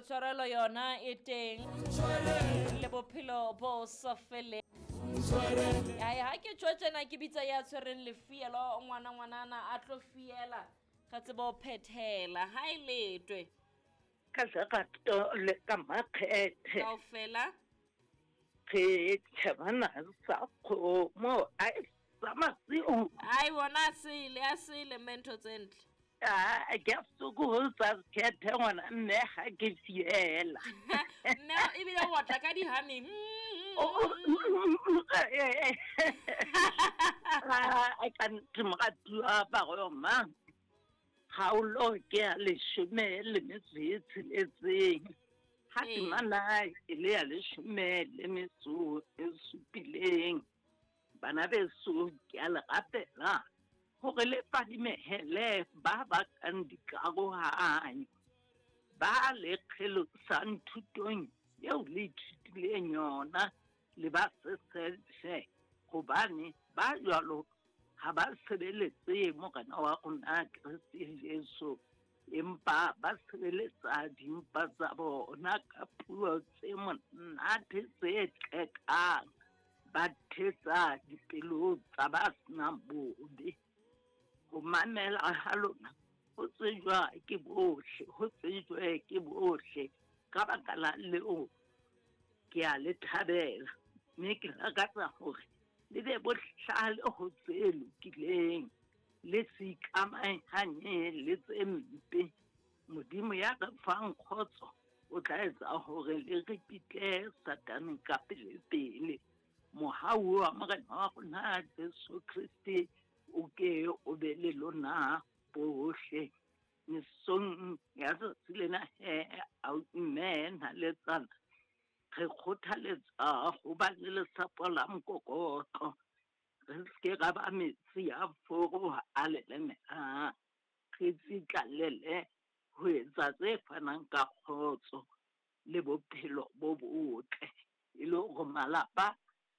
Tshwarelo yona e teng le bophelo bo sa feleng. Ai ha ke tjho tjena ke bitsa ya tshwereng lefielo ngwana ngwanana a tlo fiela ga tsebo ho phethela ha e letwe. Ka lerato le ka makgethe. Kaofela. Re tjhebana sa kgomo ai sa masiu. Ai bona a sele a sele mme ntho tse ntle. Ah, ke a sokohotsa kgethe ngwana mme ga ke fiela. Mme ebile o otla ka dihameng. Ah, ka nnete moratuwa Baroma, kgaolo ke ya leshome le metso e tsheletseng. Ha temana e le ya leshome le metso e supileng. Bana beso, ke a le rapela hore le fadimehele ba bakang dikarohanyo, ba le kgelosang thutong eo le ithutileng yona, le ba seseshe, hobane ba jwalo ha ba sebeletse Morena wa rona Kreste Jesu, empa ba sebeletsa dimpa tsa bona ka puo tse monate tse qekang, ba thetsa dipelo tsa ba senang bobe. Ho mamela ha lona ho tsejwa ke bohle, ho tsejwe ke bohle. Ka baka la leo ke a le thabela, mme ke lakatsa hore le be bohlale ho tse lokileng, le se ikamahanye le tse mpe. Modimo ya re fang kgotso o tla etsa hore le ripitle Satane ka pele-pele. Mohau wa Morena wa rona Jesu Kriste o ke o be le lona bohle. Mesong ya tsatsi lena he, mme naletsana, re kgothaletsa ho ba le lesapo la mokokotlo, re se ke ra ba metsi a foro a lelemelang, re tsitlallele ho etsa tse fanang ka kgotso le bophelo bo botle, e le hore malapa